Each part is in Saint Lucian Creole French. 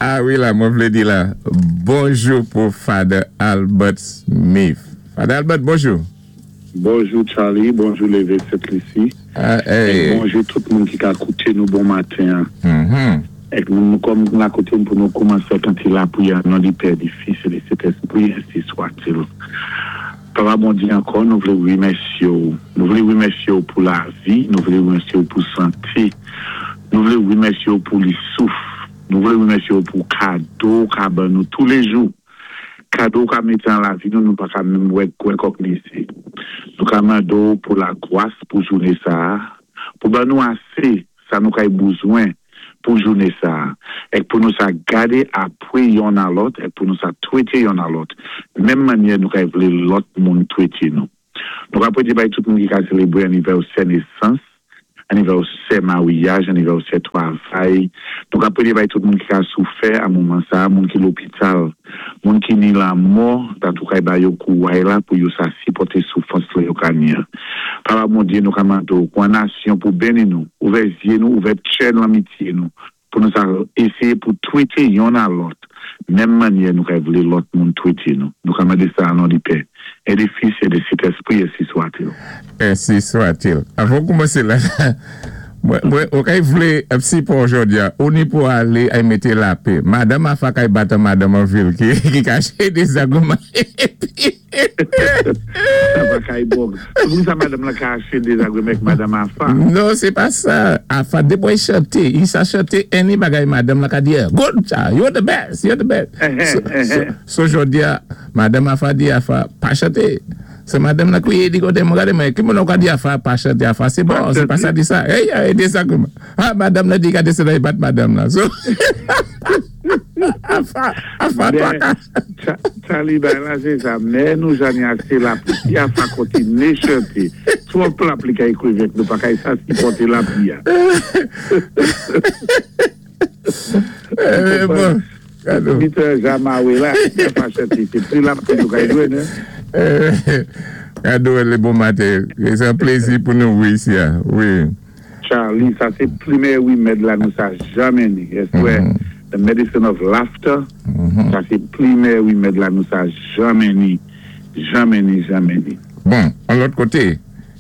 Ah wi la, mwen vlé di la, bonjou pou Father Albert Smith. Father Albert, bonjou. Bonjou Charly, bonjou Leve Sent Lisi, èk bonjou tout moun ki ka kouté nou bon maten an. Èk nou kòm la koté m pou nou koumansé ak an ti lapriyè an non di Pè, di Fis e di Sentespri, ensi swatil. Papa Bondye ankò nou vlé remèsyé w, nou vlé remèsyé w pou lavi, nou vlé remèsyé w pou santé, nou vlé remèsyé w pou li souf, nou vlé remèsyé w pou kado w ka ban nou toulejou. Kado ou ka mete an lavi nou nou pa ka menm wè kwè kòk nese. Nou ka mande w pou lagwas pou joune sa a, pou ban nou ase sa nou kay bouzwen pou joune sa a, èk pou nou sa gade apwe yonn a lòt èk pou nou sa twete yonn a lòt menm mannyè nou kay vle lòt moun twete nou. Nou ka pwede bay tout moun ki ka selebre anivèsè nesans, anivèsè maryaj, anivèsè twavay. Nou ka pwede bay tout moun ki ka soufè a moman sa a, moun ki lopital, moun ki ni lamò, dat ou kay ba yo kouray la pou yo sa sipòte soufrans la yo ka ni an. Papa Bondye, nou ka mande w pou an nasyon pou beni nou, ouvè zye nou, ouvè tchè lanmitye nou, Pou nou sa eseye pou twete yonn a lòt menm mannyè nou kay vle lòt moun twete nou. Nou ka mande sa a non di Pè, e di Fis, e di Sentespri, ensi swatil. Ensi swatil. Avan w koumanse la, mwen, mwen, ou kay vle ap sipò jodi a, ou ni pou ale ay mete lapè. Madanm afa kay bat an madanm an vil ki, ki kache dezagreman epi. Sa pa kay bon. Se pou sa madanm lan ka achte dezagreman ak madanm Afa. Non se pa sa. Afa depi w chante, i sa chante any bagay madanm lan ka di good sa, you're the best, you're the best. So jodi a madanm Afa di Afa pa chante. Se madanm lan kriye di kote m gade mwen ki moun ou ka di Afa pa chante Afa se bon se pa sa di sa. Ey ey dezagreman. Ha madanm lan di gade se la li bat madanm lan. So Afa Afa twaka. Charly bay la se sa men nou jani ase lapli si afa kontine chante twòp lapli kay krevèt nou pa kay sa sipòte lapli a ou konprann mitan jamawe la si afa chante se pli lapli nou kay jwenn Kado le bon maten se yon plezi pou nou wi isi a wi. Charly sa se plimen remèd la nou sa jamè ni èske wè the medicine of laughter sa se plimen remèd la nou sa jamè ni jamè ni jamè ni. Bon on lòt kote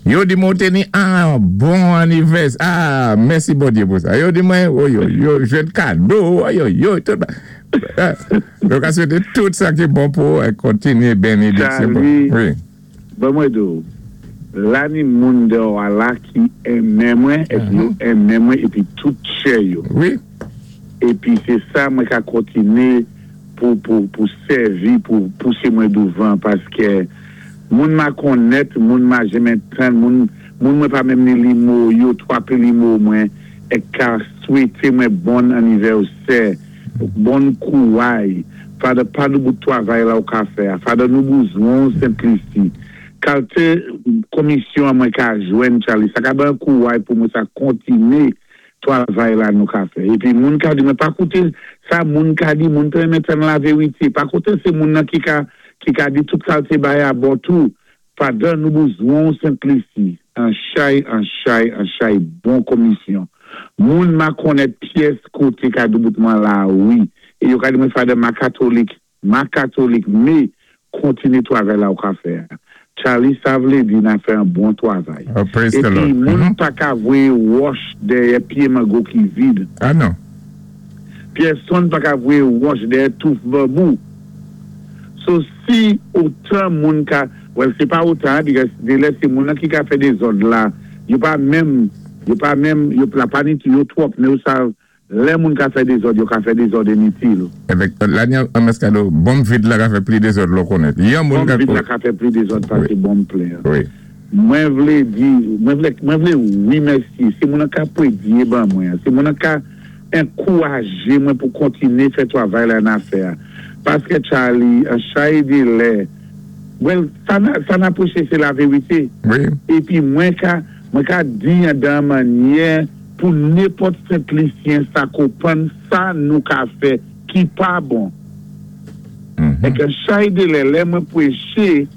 yo di mwen ou te ni ah bon anivès ah mèsi Bondye pou sa yo di mwen oyoy yo jwenn kado oyoyoy tout bagay yo ka swete tout sa ki bon pou ou kontinye benediksyon pou Charly wi. Ban mwen di w, la ni moun dèò a la ki enmen mwen, epi yo enmen mwen epi tout chè yo. Wi. Epi se sa mwen ka kontine pou, pou, pou sèvi, pou pouse mwen douvan, paskè moun ma konnèt, moun ma jenmen tann, moun, moun mwen pa menm ni limo yo, twape limo mwen, èk ka swete mwen bonn annivèsè. Bon kouray Father pa nou bout twavay la ou ka fè a Father nou bouzwen w Sent Lisi kalte komisyon an mwen ka jwenn Charly sa ka ban kouray pou mwen sa kontine twavay la nou ka fè epi moun ka di mwen pa koute sa moun ka di moun pa renmen tann laverite pa koute se moun nan ki ka ki ka di tout kalte bay abò tou Father nou bouzwen w Sent Lisi an chay an chay an chay bon komisyon moun ma konnèt pyès kote kado bout mwen la wi e yo ka di mwen Father ma katolik ma katolik me kontine twavay la ou ka fè a Charly sa vle di na fè an bon twavay Oh praise the epi Lord moun paka voye wòch dèyè pye mango ki vid Ah non. Pyèsonn paka voye wòch dèyè touf banbou So si otan moun ka well se pa otan a because delè se moun nan ki ka fè dezòd la yo pa menm yo pa menm yo la pa ni yo twòp men yo sa lè moun ka fè dezòd yo ka fè dezòd initil. Evèk Laniel Amescado bonm vid la ka fè pli dezòd lè w konnen yon moun Bonm ka vid la ka fè pli dezòd pase bonm plen an. Wi. Mwen vle di mwen vle mwen vle remèsye se moun nan ka pwedye ban mwen an se moun nan ka Enkouraje mwen pou kontine fè twavay la na fè a paskè Charly an chay de lè well sa na sa na preche se la verite Wi. epi mwen ka mwen ka di an dan mannyè pou nenpòt sentlisyen sa konprann sa nou ka fè ki pa bon èk an chay de lè lè mwen preche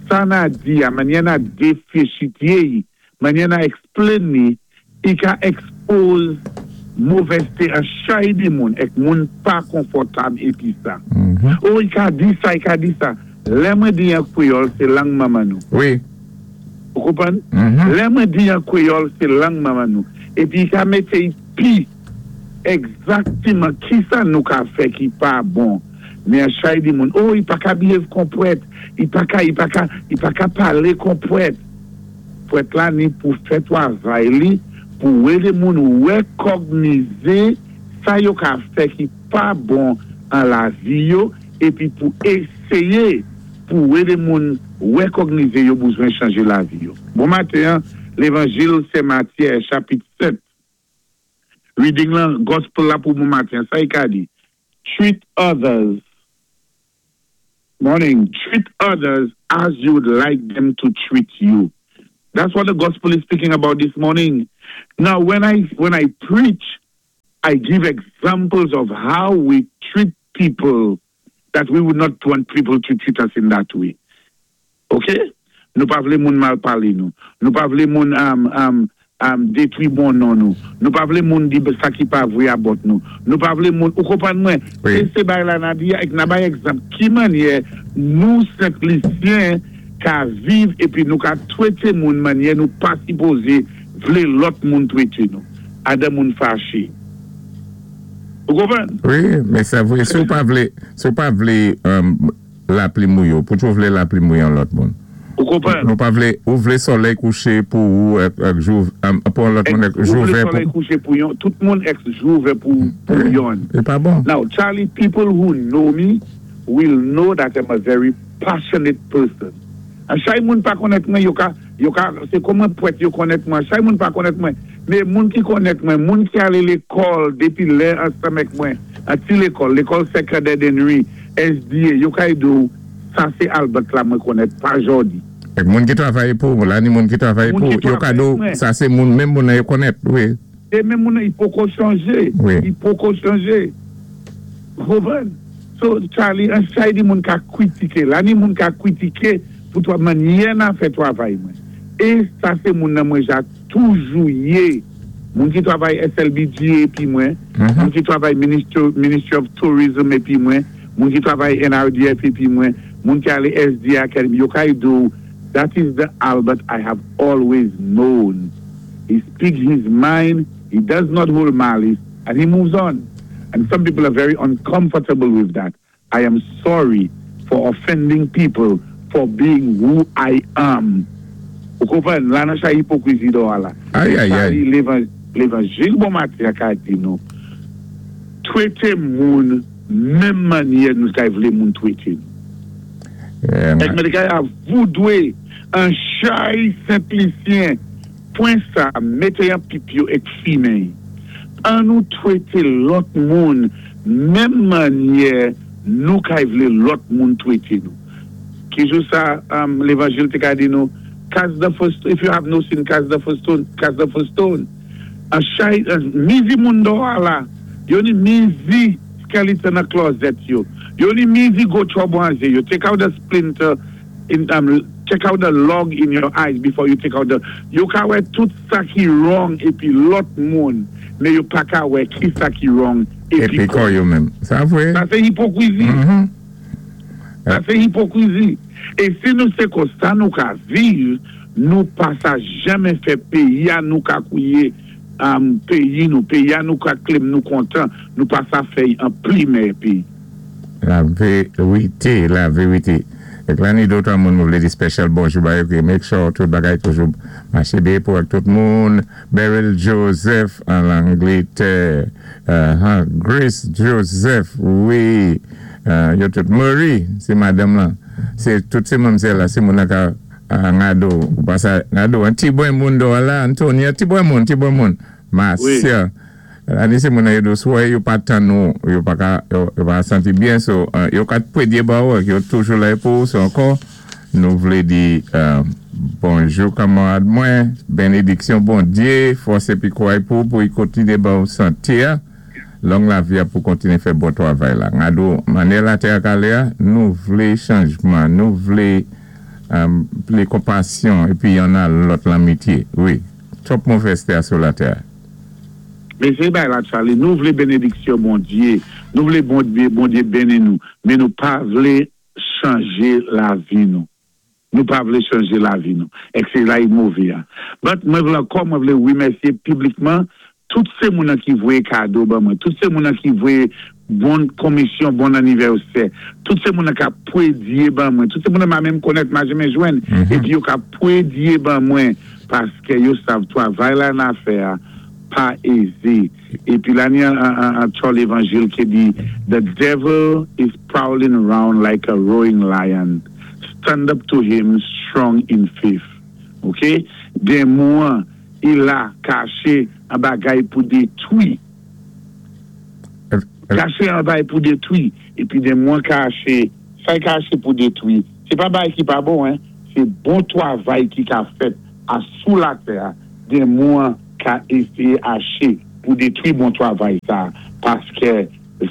sa na di a mannyè na defechitye y mannyè na explain li i ka expose. Movèzté an chay di moun èk moun pa konfòtab épi sa. O i ka di sa, i ka di sa. Lè mwen di an kwéyòl sé lang manman nou. Wi. Ou konprann? Lè mwen di an kwéyòl sé lang manman nou. Épi i ka mété i pi egzaktiman kisa nou ka fè ki pa bon. Men an chay di moun, o i pa ka behave kon pwèt, i pa ka, i pa ka, i pa ka palé kon pwèt. Pwèt la ni pou fè twavay li pou édé moun wèkògnize sa yo ka fè ki pa bon an lavi yo épi pou éséyé pou édé moun wèkògnize yo bouzwen chanje lavi yo. Bon maten an, Lévanjil Sen Matyè chapit 7, reading lan, Gospel la pou bon maten an, sa i ka di, Treat others Morning, treat others as you would like them to treat you. That's what the gospel is speaking about this morning. Now, when I when I preach, I give examples of how we treat people that we would not want people to treat us in that way. Ok? Nou pa vlé moun mal palé nou. Nou pa vlé moun um, um, um, détwi bon non nou. Nou pa vlé moun di sa ki pa vwé about nou. Nou pa vlé moun, ou konprann mwen? Wi. É sé bagay la na di a, èk na bay egzanp ki mannyè nou Sent Lisyen ka viv épi nou ka twété moun mannyè nou pa sipozé vlé lòt moun twété nou. Adan moun faché. Ou konprann? Wi, men sa vwé, si w pa vlé, si w pa vlé um, Lapli mouye w. Pouki w vle lapli mouye yon lòt moun? Ou konprann? Nou pa vle, ou vle solèy kouche pou ou èk èk jou pou yon lòt moun èk Ou jou vle vè solèy pou. kouche pou yon tout moun èk jou vè pou pou Wi, yonn. li pa bon. Now Charlie people who know me will know that I'm a very passionate person. An chay moun pa konnèt mwen yo ka yo ka se kon mwen pwèt yo konnèt mwen an chay moun pa konnèt mwen men moun ki konnèt mwen moun ki ale lekòl depi lè ansanm èk mwen an ti lekòl lekòl Sè Candide Henry SDA yo kay di w sa se Albert la mwen konnèt pa Jordy. Èk moun ki travay pou w la ni moun ki travay Moun pou ki w yo ka travay di w mwen. sa se moun menm moun nan yo konnèt wi. Se menm moun nan i poko chanje Wi. i poko chanje ou konprann so Charly an chay di moun ka kwitike la ni moun ka kwitike pou twa mannyè na fè twavay mwen e sa se moun nan mwen ja toujou ye moun ki twavay SLBGA epi mwen moun ki twavay ministry of tourism epi mwen moun ki twavay NRDF epi mwen moun ki ale SDA Academy yo kay di w that is the Albert I have always known he speaks his mind he does not hold malice and he moves on and some people are very uncomfortable with that I am sorry for offending people for being who I am. Ou konprann? La nan chay ipokrizi dò a la. Ay Se ay sa ay. li levan levanjil bon maten an ka di nou. Trete moun menm mannyè nou kay vle moun trete nou. Èk mwen te kay a voudwe an chay Sentlisyen. Pwen sa mete an pip yo ek fimen y. An nou twete lòt moun menm mannyè nou kay vle lòt moun twete nou. Ki jou sa levanjil te ka di nou cast the first if you have no sin cast the first stone cast the first stone. An chay mizi moun dò a la yo ni mizi skeleton nan klòzèt yo. Yo ni mizi gwo twòb an je yo take out the splinter in check out the log in your eyes before you take out the yo ka wè tout sa ki wrong epi lòt moun men yo pa ka wè kisa ki wrong epi Epi kò kò yo. yo menm. Sa vre. Sa se ipokrizi. Sa se ipokrizi. E si nou se konsa nou ka viv, nou pa sa janmen fè peyi a nou ka kouye peyi nou, peyi a nou ka claim nou kontan, nou pa sa fè y an pli mèyè peyi. La verite, la verite. Ek la ni dotwa moun mwen vle di special bonjou ba yo ki make sure tout bagay toujou mache byen pou ak tout moun. Beryl Joseph an Langletè, uh-huh, Grace Joseph, wi, yo tout. Murray, se madanm lan. Se tout se manmzèl la, se moun nan ka ngado, ou pa sa ngado, an ti bwen moun do la, Antonia, ti bwen moun, ti bwen moun. Marcia. Ane se moun nan yo dous wè yo pa tann ou yo paka yo pa santi byen so yo ka pwedye ba ou ak yo toujou la pou ou so ankò nou vle di bonjou kanmarad mwen benediksyon Bondye fòs epi kouray pou ou pou i kontinye ba ou sante a long lavi a pou kontinye fè bon twavay la ngado manyè latè a kale a nou vle chanjman nou vle pli konpasyon epi yonn a lòt lanmitye wi twòp movèzte a sou latè a. Mé sé bagay la, Charlie, nou vlé bénédiksyon Bondyé, nou vlé Bondyé béni nou, mé nou pa vlé chanjé lavi nou. Nou pa vlé chanjé lavi nou. Èk sé la i mové an. But mwen vlé ankò, mwen vlé wimèsyé piblikman tout sé moun ki voyé kado ban mwen, tout sé moun ki voyé bon komisyon, bon anivèsè, tout sé moun ki pwédyé ban mwen, tout sé moun m pa menm konnèt, m pa janmen jwenn, épi yo ka pwédyé ban mwen, paské yo sav twavay la n-ap fè a, pa ézé. Épi la ni an chò lévanjil ki di, "The devil is prowling around like a roaring lion. Stand up to him strong in faith." Ok? Démon, i la kaché an bagay pou détwi. Kaché an bagay pou détwi. Épi démon kaché, sa i kaché pou détwi. Sé pa bagay ki pa bon, hein? Sé bon twavay ki ka fèt a sou latè. Démon ka éséyé aché pou détwi bon twavay sa. Paské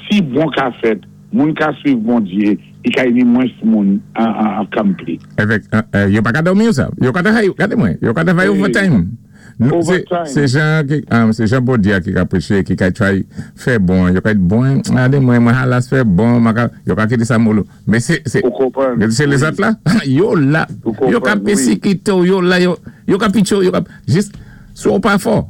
si bon ka fèt, moun ka swiv Bondyé, i ka ni mwens moun an kanpli. Évèk, yo pa ka dòmi ou sa? Yo ka travay, gadé mwen, yo ka travay overtime. Overtime. Sé jan Bondyé ki ka préché, ki ka try fè bon, yo ka bon, gadé mwen, mwen halas fè bon, yo ka kité sa molo. Mé Ou konpwann? Sé lézòt la, yo la, Ou yo ka konpwann, wi. pésikité, yo la, yo ka pitcho, yo ka, jis, sou pa fò.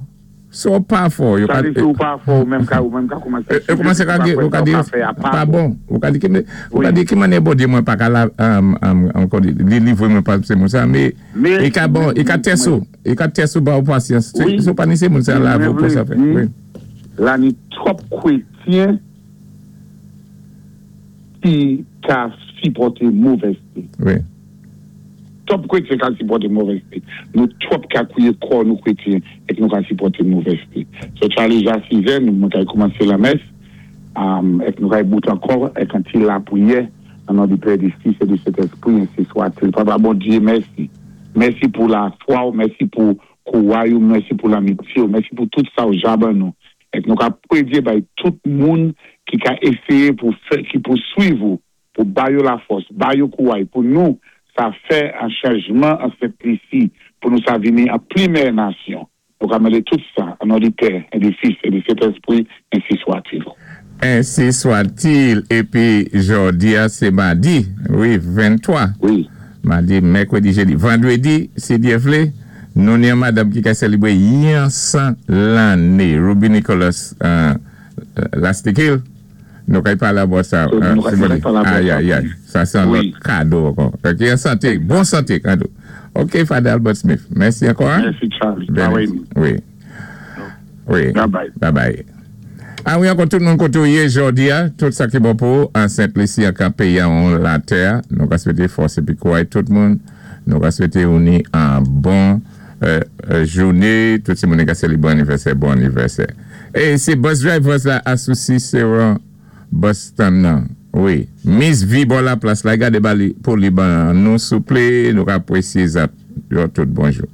Sou pa fò, yo Sa ka di si ou pa fò, ou menm ka koumansé E koumansé ka di, ou ka di, pa bon. Ou ka di ki mannyè Bondyé mwen pa ka la, ankò di, li livwé mwen pa sé moun sa, mé, i ka bon, i ka tès ou, i ka tès ou ba ou pasyans. Sou pa ni sé moun sa la, Mwen pou sa vlé fè. di, la ni twòp krétyen ki ka sipòté movèzté. Twòp krétyen ka sipòté movèzté. Nou twòp ka kwiyé kò nou krétyen èk nou ka sipòté movèzté. So Charlie, ja 6 è, nou mwen kay koumansé lamès, èk nou kay bout ankò, èk an ti lapriyè, an non di Pè, di Fis et di Sentèspri, ainsi soit-il. Papa Bondyé, mèsi. Mèsi pou lafwa ou, mèsi pou kouway ou, mèsi pou lamitye ou, mèsi pou tout sa ou ja ban nou. Èk nou ka pwédyé bay tout moun ki ka éséyé pou fè, ki pou swiv ou, pou ba yo lafòs, ba yo kouway, pou nou sa fè an chanjman an Sent Lisi, pou nou sa vini an pli mèyè nasyon. Nou ka mandé tout sa, an non di Pè, et di Fis, et di Sentèspri, ainsi soit-il. Ainsi soit-il. Épi, jòdi a, sé madi, wi, 23. Madi, mèkwédi, jédi. Vandwédi, si Dyé vlé, nou ni an madanm ki ka sélébwé yon 100 lanné. Ruby Nicholas Lastikil. Nou kay palé about sa. Nou kay palé about sa. Ay, ay, ay. Sa sé an lòt kado ankò. Ok, an santé, bon santé kado. Ok, Father Albert Smith. Mèsi ankò. Hein? Mèsi, Charlie. Wi. Bye bye. Bye bye. A wi, ankò tout moun koté ou yé jòdi a, tout sa ki bon pou an Sent Lisi ak an péyi an latè, nou ka swété fòs épi kouway tout moun. Nou ka swété ou ni an bon jouné, tout ti moun ki ka sélébwé anivèsè, bon anivèsè. É sé bus drivers la a sou Cicéron bus stand nan. Wi, Miss V bò la plas la, gadé ba li pou li ban nou souplé, nou ka apwésyé zat yo tout bonjou.